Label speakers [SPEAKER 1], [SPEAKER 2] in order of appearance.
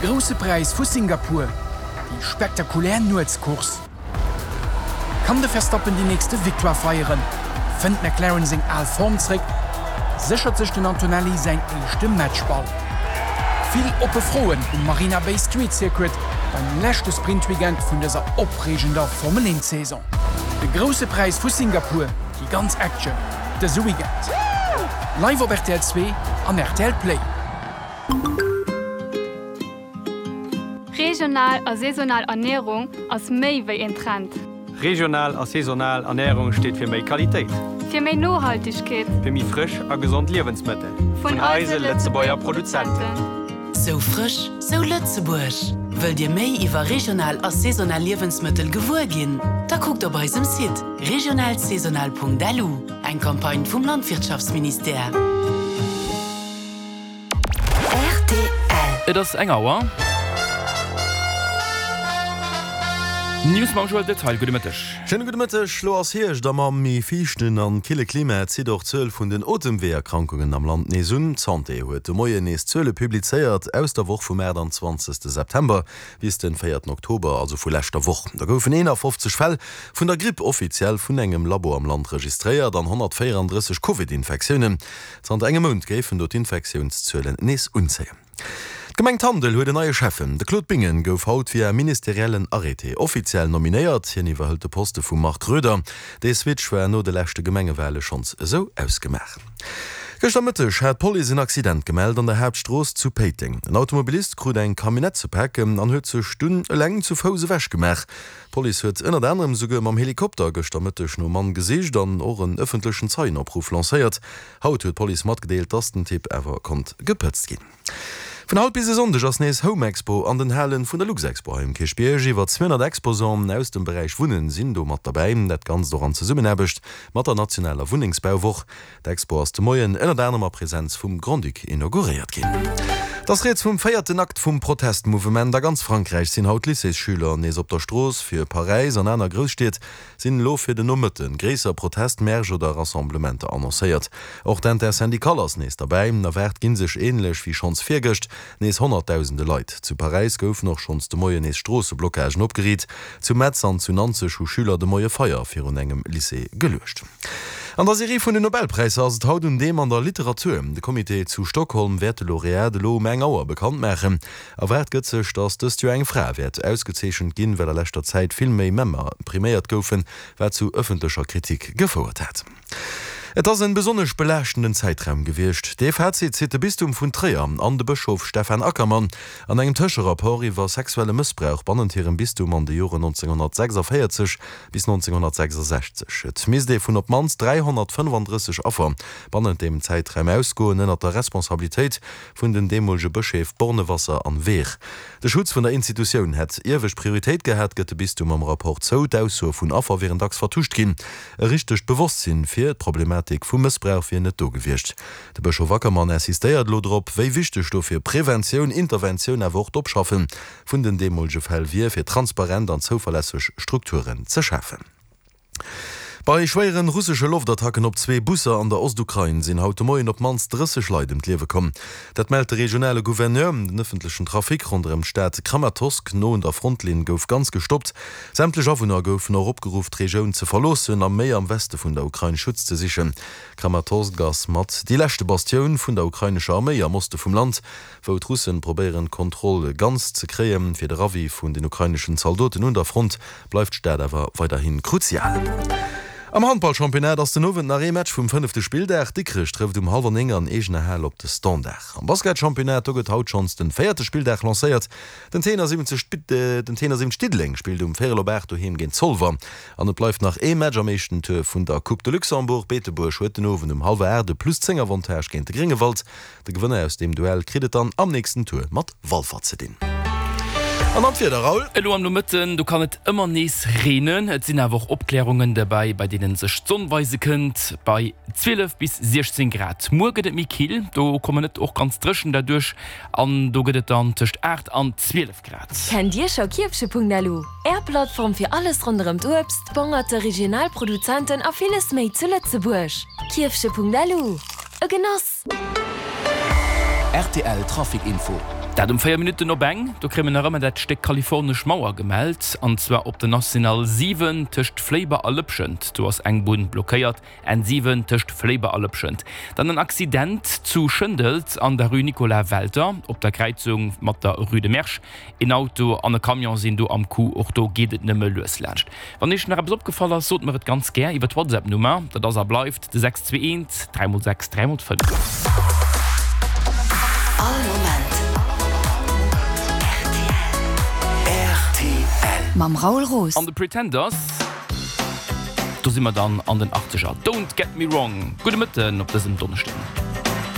[SPEAKER 1] De Grousse Präis vu Singapur, déi spektakulär Nuetscourse. Kann de Verstappen déi nächste Victoire feieren? Fënnt McLaren seng al Form zréck? Séchert sech den Antonelli säin éischte Matchball? Vill oppe Froen um Marina Bay Street Circuit beim leschte Sprintweekend vun dëser opreegender Formel 1 Saison. De Grousse Präis vu Singapur, déi ganz Action dëse Weekend. Live op rtl 2 an rtl Play.
[SPEAKER 2] Regional a saisonal Ernierung ass méi wéi een Trend.
[SPEAKER 3] Regional a saisonal Ernärung steet fir méi Qualitéit.
[SPEAKER 2] Fir méi Nohaltegkeet.
[SPEAKER 3] Fir méi frësch a gesond Liewensmëttel.
[SPEAKER 2] Vun eise Lëtzebuerger Produzenten.
[SPEAKER 4] Sou frësch, sou Lëtzebuerg! Wëllt Dir méi iwwer regional a saisonal Liewensmëttel gewuer ginn? Da kuckt op eisem Site regionalsaisonal.lu, eng Campagne vum Landwirtschaftsministère.
[SPEAKER 5] Rtl. Et ass eng Auer. News mam Joël Detail. Gudde Mëtteg.
[SPEAKER 6] Schéine gudde Mëtteg. Lo ass Hierscht a mam méi fiichten an kille Klima zitt och d'Zuel vun den Otemweeërkrankungen am Land nees un. D'Santé huet de Moien nees Zuele publizéiert aus der Woch vum 28 September bis den 4 Oktober, also vu leschter Woch. Da goufen 51 Fäll vun der Gripp offiziell vun engem Labo am Land registréiert an 134 Covid-Infektiounen. Zanter engem Mount géifen do d'Infektiounszuelen nees unzéien. D'Gemeng Tandel huet en neie Schäffen. De Claude Bingen gouf haut via ministeriellen Arrêté offiziell nominéiert. Hien iwwerhëlt de Poste vum Marc Roeder. Dee Switch war no de leschte Gemengewale schonns esou ausgemaach. Gëschter Mëtteg hat d'Police en Accident gemellt an der Haaptstrooss zu Péiteng. En Automobilist krut eng Camionnette ze paken an huet sech dunn eleng zu Fouss ewech gemaach. D'Police huet ënnert anerem souguer mam Helikopter gëschter Mëtteg nom Mann gesicht an och en ëffentlechen Zeienopruff lancéiert. Haut huet d'Police matgedeelt, dass den Typ awer konnt gepëtzt ginn. Vun haut bis e Sonndeg ass nees Home Expo an den Halen vun der Luxexpo hei um Kierchbierg. Iwwer 200 Exposanten aus dem Beräich Wunnen sinn do mat derbäi. Dat Ganzt och an Zesummenaarbecht mat der nationaler Wunnengsbauwoch. D'Expo ass de Moien ënnert anerem a Presenz vum Grand-Duc inauguréiert ginn. Et ass rieds vum véierten Akt vum Protestmouvement. A ganz Frankräich sinn haut Lycéesschüler nees op der Strooss. Fir Paräis an aner Grousstied sinn elo fir den Nomëtte gréisser Protestmärsch oder Rassemblementer annoncéiert. Och d'Intersyndicale ass nees derbäi. Erwaart gi sech, änlech wéi schonns virgëscht, nees honnertdausende Leit. Zu Paräis goufen och schonns de Moien nees Stroosseblockagen opgeriit. Zu Metz an zu Nanzeg hu Schüler de Moie Feier virun engem Lycée geluecht. An der Serie vun den Nobelpräisser ass et haut un deem an der Literatur. De Comité zu Stockholm wäert de Laureat elo um eng Auer bekannt maachen. Erwaart gëtt sech, datt dëst Joer eng Fra wäert ausgezeechent ginn, well a leschter Zäit vill méi Männer priméiert goufen, wat zu ëffentlecher Kritik gefouert hat. Et ass en besonnesch belaaschtenden Zäitraum gewiescht. Dee Fazit zitt de Bistum vun Tréier an de Bëschof Stephan Ackermann an engem Tëscherapport iwwer sexuelle Mëssbrauch bannent hirem Bistum an de Joren 1946 Bis 1966. Et misst ee vun op d'mannst 335 Affer bannent deem Zäitraum ausgoen, ënnert der Responsabilitéit vun den deemolege Bëscheef Bornewasser an Wehr. De Schutz vun der Institutioun hätt iewescht Prioritéit gehat, gëtt de Bistum am Rapport zou. D'Aussoe vun Affer wieren dacks vertuscht ginn. E richtegt Bewosstsinn fir d'Problematik vum Mëssbrauch wier net do gewiescht. De Bëschof Ackermann insistéiert elo drop, wéi wichteg dofir Preventioun, Interventioun awer och d'Opschaffe vun den deemolege Fäll wier, fir transparent an zouverlässeg Strukturen ze schafen. Bei schwéieren russesche Loftattacken op zwee Busser an der Ostukrain sinn haut de Moien op d'mannst 30 Leit ëm d'Liewe komm. Dat mellt de regionale Gouverneur. Den ëffentlechen Trafic ronderëm d'Stad Kramatorsk no un der Frontlinn gouf ganz gestoppt. Sämtlech Awunner goufen och opgeruff, d'Regioun ze verloossen a méi am Weste vun der Ukrain Schutz ze sichen. Kramatorsk ass mat déi leschte Bastioun vun der ukrainescher Arméi am Oste vum Land. wou d'Russen probéieren d'Kontroll ganz ze kréien. Fir de Ravi vun den ukraineschen Zaldoten un der Front bleift d'Stad awer weiderhi kruzial. Am Handballchampionnat ass den Owend nach ee Match vum fënnefte Spilldag. Dikrech trëfft um hallwer 9 an eegener Hal op de Standard. Am Basketchampionnat, do gëtt haut schonns den véierte Spilldag lancéiert. Den T71 den T71 Diddeleng spillt um véierel op 8 doheem géint Zolwer. An et bleift nach ee Match am éischten Tour vun der Coupe de Luxembourg. Beetebuerg huet den Owend um hallwer 8 e Plus 10 Avantage géint de Gréngewald. De Gewënner aus deem Duell kritt et dann am nächsten Tour mat Walfer ze dinn. An dann d'Wieder, Raoul.
[SPEAKER 5] Elo am Nomëtten, do kann et ëmmer nees reenen. Et sinn awer och Opklärungen derbäi, bei deene sech d'Sonn weise kënnt, bei 12 bis 16 Grad. Muer gëtt et méi kill, do kommen et och ganz dréchen derduerch an do gëtt et dann tëscht 8 an 12 Grad.
[SPEAKER 7] Kennt Dir scho Kierfche.lu, Är Plattform fir alles ronderëm d'Uebst, d'Bongerte, regional Produzenten a villes méi zu Lëtzebuerg? Kierfche.lu, e Genoss!
[SPEAKER 8] Rtl Trafic Info.
[SPEAKER 5] Dat um 4 Minutten op eng. Do kréie mer nach ëmmer dat Stéck kalifornesch Mauer gemellt, an zwar op der National 7 tëscht Fléiber a Lëpschent. Do ass eng Bunn blockéiert. N7 tëscht Fléiber a Lëpschent. Dann en Accident zu Schëndels an der Rue Nicolas Welter op der Kräizung mat der Rue de Mersch. Een Auto an e Camion sinn do am Coup. Och do geet et nëmme lues laanscht. Wann Iech nach eppes opgefall ass, sot mer et ganz gär iwwer d'Whatsapp-Nummer. Dat ass a bleift de 621 3 x 6 3 x 5.
[SPEAKER 4] All Moment rtl. Mam Raoul Roos.
[SPEAKER 5] An de Pretenders, do si mer dann an den Achtzeger. Don't get me wrong. Gudde Mëtten op dësem Donneschden.